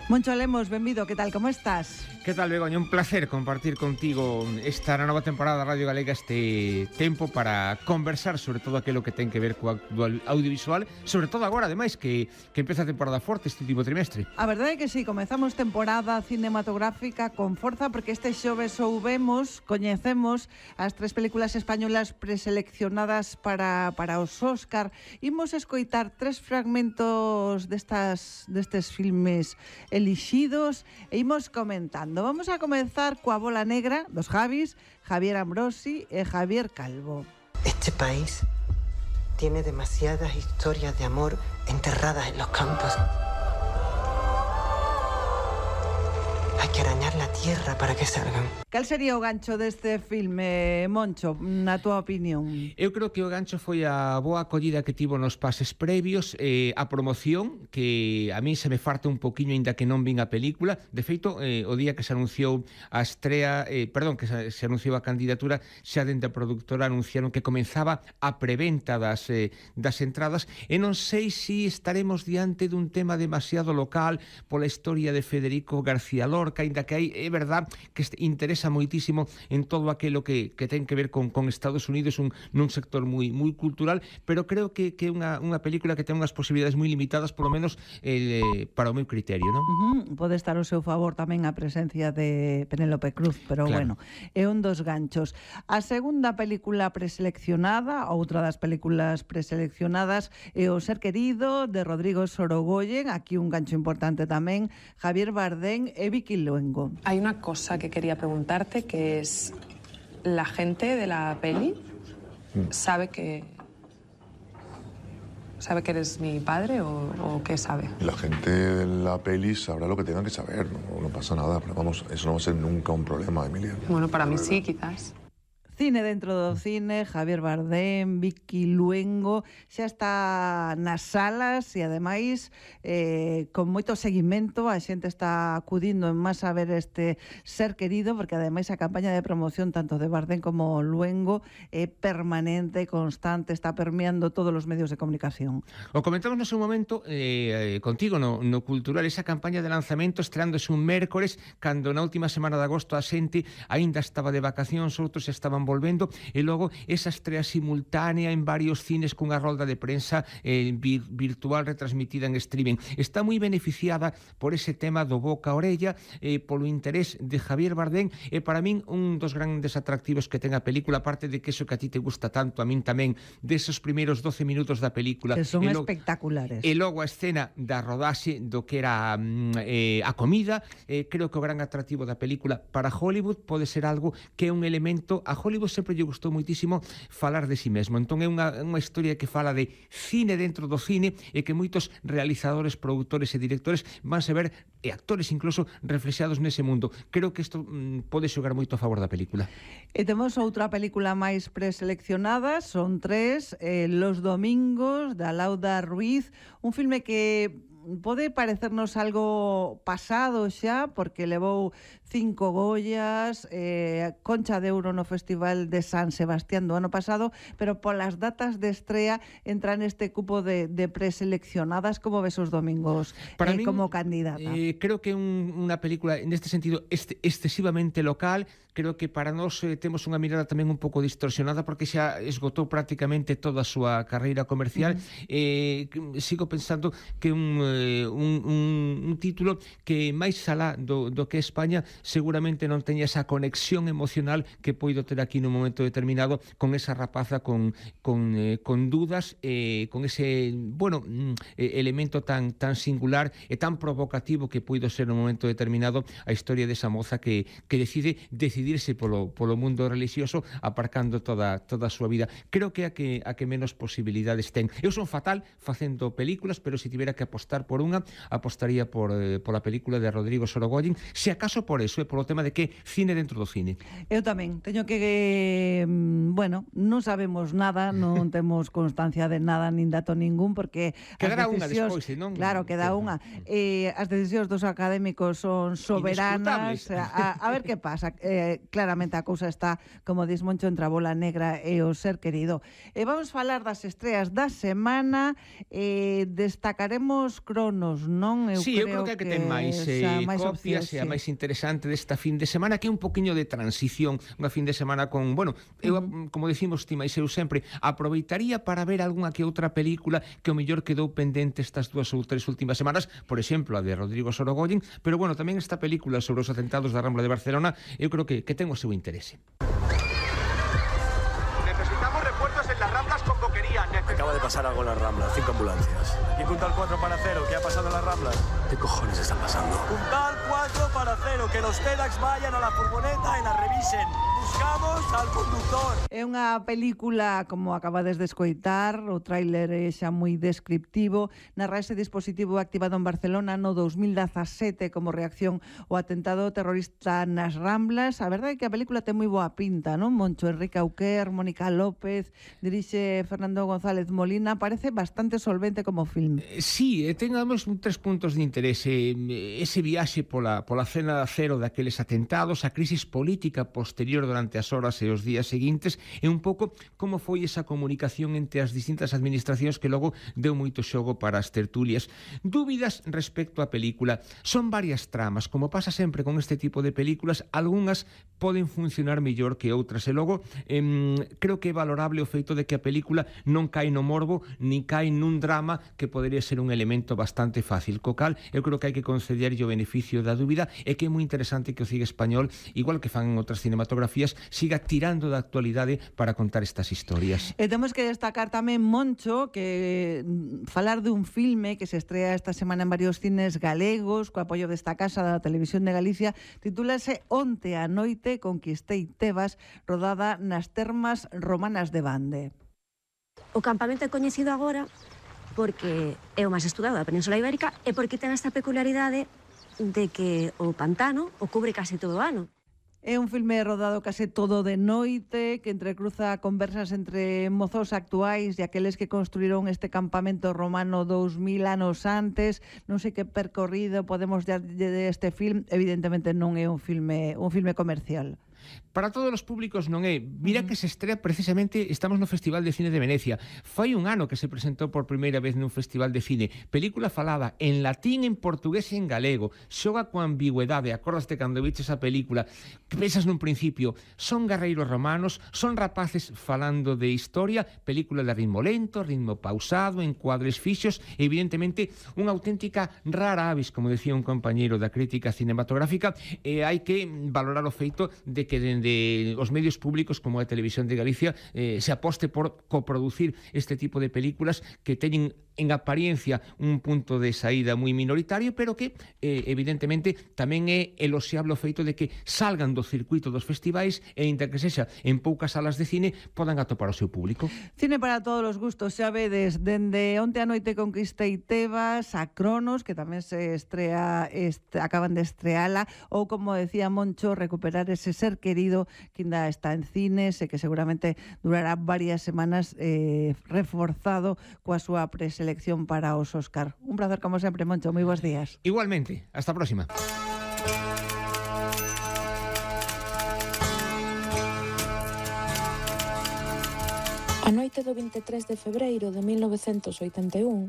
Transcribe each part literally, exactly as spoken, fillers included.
Moncho Lemos, benvido, que tal, como estás? Que tal, Begoña? Un placer compartir contigo esta nova temporada da Radio Galega, este tempo para conversar sobre todo aquilo que ten que ver co audiovisual, sobre todo agora, ademais, que, que empeza a temporada forte este último trimestre. A verdade é que sí, comezamos temporada cinematográfica con forza, porque este xoves soubemos, coñecemos as tres películas españolas preseleccionadas para, para os Óscar. Imos escoitar tres fragmentos destas, destes filmes elixidos e imos comentando. Vamos a comenzar coa Bola Negra dos Javis, Javier Ambrosi e Javier Calvo. Este país tiene demasiadas historias de amor enterradas en los campos. Hay que arañar la tierra para que salgan. Cal sería o gancho deste filme, Moncho, na túa opinión? Eu creo que o gancho foi a boa acollida que tivo nos pases previos, eh, a promoción, que a mí se me farta un poquinho aínda que non vin a película. De feito, eh, o día que se anunciou a estrea, eh, perdón, que se, se anunciou a candidatura, xa dende a productora anunciaron que comenzaba a preventa das, eh, das entradas, e non sei se si estaremos diante dun tema demasiado local pola historia de Federico García Lorca, aínda que hai, é verdad, que interesa moitísimo en todo aquilo que, que ten que ver con, con Estados Unidos, un, nun sector moi moi cultural, pero creo que é unha, unha película que ten unhas posibilidades moi limitadas, polo menos eh, para o meu criterio, non? Uh-huh. Pode estar ao seu favor tamén a presencia de Penélope Cruz, pero claro, bueno, é un dos ganchos. A segunda película preseleccionada, outra das películas preseleccionadas, é O ser querido, de Rodrigo Sorogoyen. Aquí un gancho importante tamén, Javier Bardem e Vicky Luengo. Hay una cosa que quería preguntarte, que es, ¿la gente de la peli sabe que sabe que eres mi padre o, o qué sabe? La gente de la peli sabrá lo que tengan que saber, no, no pasa nada, pero vamos, eso no va a ser nunca un problema, Emilia. Bueno, para mí sí, quizás. Cine dentro do cine, Javier Bardem, Vicky Luengo, xa está nas salas e ademais eh, con moito seguimento. A xente está acudindo en masa a ver este Ser querido, porque ademais a campaña de promoción tanto de Bardem como Luengo é permanente, constante, está permeando todos os medios de comunicación. O comentamos no seu momento eh, contigo no, no Cultural, esa campaña de lanzamento estreándose un mércores, cando na última semana de agosto a xente aínda estaba de vacacións, outros estaban volvendo, e logo esa estrea simultánea en varios cines cunha rolda de prensa eh, vir, virtual retransmitida en streaming. Está moi beneficiada por ese tema do boca a orella, eh, polo interés de Javier Bardem, e para min un dos grandes atractivos que ten a película, aparte de que eso que a ti te gusta tanto, a min tamén, desos primeiros doce minutos da película, que son e logo, espectaculares, e logo a escena da rodaxe do que era eh, a comida. eh, creo que o gran atractivo da película para Hollywood pode ser algo que é un elemento. A Hollywood sempre lle gustou moitísimo falar de si mesmo, entón é unha, unha historia que fala de cine dentro do cine, e que moitos realizadores, produtores e directores vanse ver, e actores incluso, reflexados nese mundo. Creo que isto mm, pode xogar moito a favor da película. E temos outra película máis preseleccionada, son tres, eh, Los Domingos, da Lauda Ruiz, un filme que pode parecernos algo pasado xa, porque levou cinco Goyas, eh, Concha de Ouro no Festival de San Sebastián do ano pasado, pero polas datas de estrea entra neste cupo de, de preseleccionadas. Como ves os Domingos Para eh, min, como candidata? Eh, creo que é un, unha película neste sentido este, excesivamente local. Creo que para nós eh, temos unha mirada tamén un pouco distorsionada, porque xa esgotou prácticamente toda a súa carreira comercial. Uh-huh. eh, sigo pensando que un Un, un, un título que máis alá do, do que España seguramente non teña esa conexión emocional que poido ter aquí nun momento determinado con esa rapaza con, con, eh, con dudas, eh, con ese, bueno, eh, elemento tan, tan singular e tan provocativo que poido ser nun momento determinado a historia desa moza que, que decide decidirse polo, polo mundo religioso, aparcando toda, toda a súa vida. Creo que a que, a que menos posibilidades ten. Eu son fatal facendo películas, pero se tivera que apostar por unha, apostaría por, eh, por a película de Rodrigo Sorogoyen, se acaso por eso, eh, polo tema de que cine dentro do cine. Eu tamén teño que, eh, bueno, non sabemos nada, non temos constancia de nada, nin dato ningún, porque quedará unha despois, non? Claro, queda unha. Eh, as decisións dos académicos son soberanas. A, a ver que pasa. Eh, claramente a cousa está, como dis Moncho, entre a Bola Negra e O ser querido. E eh, vamos falar das estreas da semana. Eh, destacaremos Cronos, non? Eu sí, creo eu creo que, que, que ten máis eh, máis copias, opción, sí. A máis interesante desta fin de semana, que é un poquinho de transición, unha fin de semana con, bueno, eu, uh-huh. como decimos ti máis eu sempre, aproveitaría para ver algunha que outra película que o mellor quedou pendente estas dúas ou tres últimas semanas, por exemplo, a de Rodrigo Sorogoyen, pero bueno, tamén esta película sobre os atentados da Rambla de Barcelona, eu creo que, que ten o seu interese. Acaba de pasar algo en las Ramblas, cinco ambulancias. Y Puntal cuatro para cero, ¿qué ha pasado en las Ramblas? ¿Qué cojones están pasando? Puntal cuatro para cero, que los TEDx vayan a la furgoneta y la revisen. Buscamos al conductor. É unha película, como acabades de escoitar, o tráiler é xa moi descriptivo, narra ese dispositivo activado en Barcelona no dos mil dezasete como reacción ao atentado terrorista nas Ramblas. A verdade é que a película ten moi boa pinta, non? Moncho Enrique Auquer, Mónica López, dirixe Fernando González Molina, parece bastante solvente como film. Sí, ten además tres puntos de interese. Ese viaxe pola, pola cena cero daqueles atentados, a crisis política posterior durante as horas e os días seguintes, e un pouco como foi esa comunicación entre as distintas administracións que logo deu moito xogo para as tertulias. Dúbidas respecto á película. Son varias tramas, como pasa sempre con este tipo de películas, algunhas poden funcionar mellor que outras, e logo eh, creo que é valorable o feito de que a película non cae no morbo, ni cae nun drama que podería ser un elemento bastante fácil. Co cal, eu creo que hai que concederlle o beneficio da dúbida, e que é moi interesante que o cine español, igual que fan en outras cinematografías, siga tirando da actualidade para contar estas historias. E temos que destacar tamén, Moncho, que falar de un filme que se estrea esta semana en varios cines galegos, co apoio desta casa da Televisión de Galicia, titúlase Onte a noite conquistei Tebas, rodada nas termas romanas de Bande. O campamento é coñecido agora porque é o máis estudado da Península Ibérica e porque ten esta peculiaridade de que o pantano o cubre case todo o ano. É un filme rodado case todo de noite, que entrecruza conversas entre mozos actuais e aqueles que construíron este campamento romano dous mil anos antes. Non sei que percorrido podemos darlle deste film. Evidentemente non é un filme, un filme comercial. Para todos os públicos non é. Mira que se estrea precisamente, estamos no Festival de Cine de Venecia. Fai un ano que se presentou por primeira vez nun festival de cine. Película falada en latín, en portugués e en galego. Xoga coa ambigüedade. Acordaste cando viches a película, que pensas nun principio, son guerreiros romanos, son rapaces falando de historia, película de ritmo lento, ritmo pausado, encuadres fixos, evidentemente unha auténtica rara avis, como decía un compañeiro da crítica cinematográfica, e hai que valorar o feito de que dende os medios públicos como a Televisión de Galicia eh, se aposte por coproducir este tipo de películas que teñen en apariencia un punto de saída moi minoritario, pero que eh, evidentemente tamén é eloxiable o feito de que salgan do circuito dos festivais e, inda que sexa en poucas salas de cine, podan atopar o seu público. Cine para todos os gustos, xa vedes, dende Onte a noite conquistei Tebas a Cronos, que tamén se estrea, est, acaban de estreala, ou como decía Moncho, recuperar ese ser querido que ainda está en cines e que seguramente durará varias semanas eh, reforzado coa súa preselección para os Óscar. Un placer como sempre, Moncho, moi bons días. Igualmente, hasta a próxima. A noite do vinte e tres de febreiro de mil novecentos oitenta e un,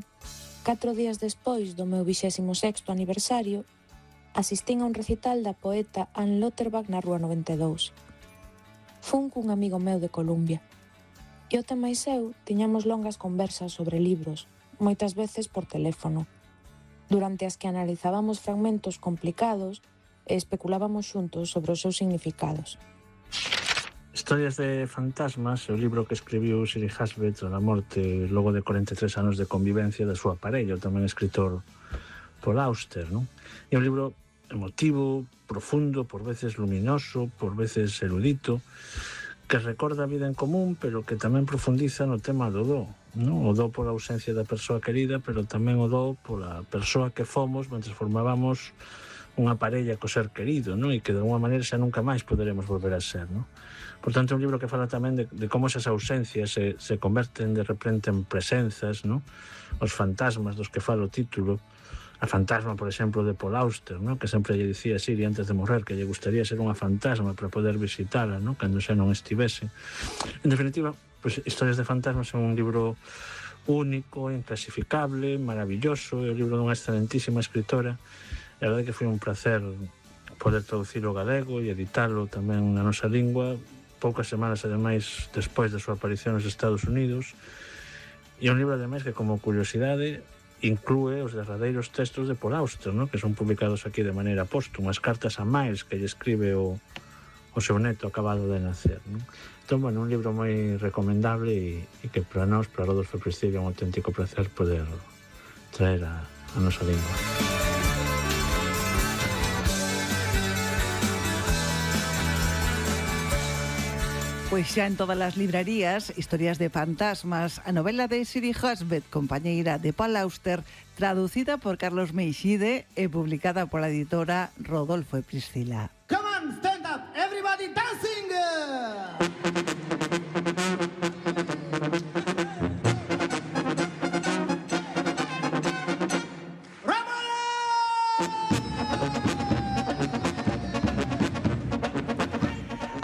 catro días despois do meu vixésimo sexto aniversario, asistín a un recital da poeta Anne Lauterbach na Rúa noventa e dous. Fun cun amigo meu de Columbia. E o tema e eu tiñamos longas conversas sobre libros, moitas veces por teléfono, durante as que analizábamos fragmentos complicados e especulábamos xuntos sobre os seus significados. Historias de fantasmas é o libro que escribiu Siri Hasbet a morte logo de corenta e tres anos de convivencia da súa parella, o tamén escritor Paul Auster, non? É un libro emotivo, profundo, por veces luminoso, por veces erudito, que recorda a vida en común, pero que tamén profundiza no tema do do, non? O do pola ausencia da persoa querida, pero tamén o do pola persoa que fomos mentre formábamos unha parella co ser querido, non? E que de alguma maneira xa nunca máis poderemos volver a ser, non? Por tanto, é un libro que fala tamén de, de como esas ausencias se, se converten de repente en presenzas, non? Os fantasmas dos que fala o título, a fantasma, por exemplo, de Paul Auster, ¿no? Que sempre lle dicía a Siri antes de morrer que lle gustaría ser unha fantasma para poder visitala, ¿no? Cando xa non estivese. En definitiva, pues, Historias de fantasmas é un libro único, inclasificable, maravilloso, é o libro dunha excelentísima escritora, e a verdade que foi un placer poder traducilo ao galego e editalo tamén na nosa lingua, poucas semanas, ademais, despois da súa aparición nos Estados Unidos, e un libro, ademais, que como curiosidade inclúe os derradeiros textos de Paul Auster, ¿no? Que son publicados aquí de maneira póstuma, as cartas a Miles que lle escribe o, o seu neto acabado de nacer, ¿no? Entón, bueno, un libro moi recomendable e, e que para nós, para Rodolfo Prestige, é un auténtico placer poder traer a, a nosa lingua. Pois xa en todas as librarías, Historias de fantasmas, a novela de Siri Husband, compañeira de Paul Auster, traducida por Carlos Meixide e publicada pola editora Rodolfo e Priscila. Come on, stand up, everybody dancing!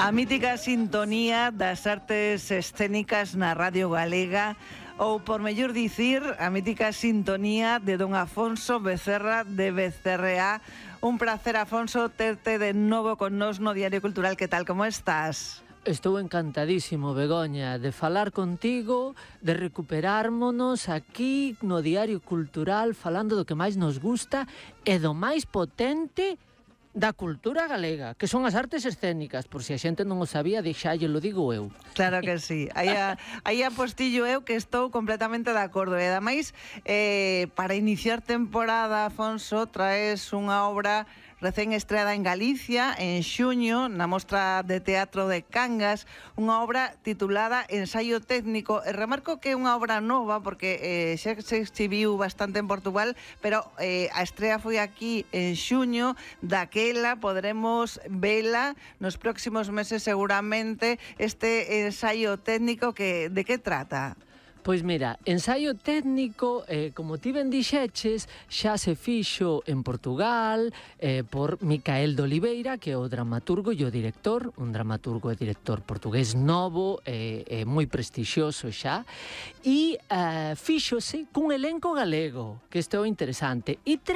A mítica sintonía das artes escénicas na Radio Galega, ou, por mellor dicir, a mítica sintonía de don Afonso Becerra de Becerrea. Un placer, Afonso, terte de novo con nos no Diario Cultural. Que tal, como estás? Estou encantadísimo, Begoña, de falar contigo, de recuperármonos aquí no Diario Cultural falando do que máis nos gusta e do máis potente da cultura galega, que son as artes escénicas, por si a xente non o sabía, deixalle, lo digo eu. Claro que sí, aí, a, aí apostillo eu que estou completamente de acordo. E ademais, eh, para iniciar temporada, Afonso, traes unha obra recén estreada en Galicia, en xuño, na Mostra de Teatro de Cangas, unha obra titulada Ensaio técnico. E remarco que é unha obra nova, porque eh, xa se exhibiu bastante en Portugal, pero eh, a estrea foi aquí en xuño. Daquela podremos vela nos próximos meses seguramente. Este ensaio técnico, que de que trata? Pois mira, ensaio técnico, eh, como ti ben dixeches, xa se fixo en Portugal eh, por Micael de Oliveira, que é o dramaturgo e o director, un dramaturgo e director portugués novo, eh, eh, moi prestixioso xa, e eh, fíxose cun elenco galego, que isto é interesante, e tra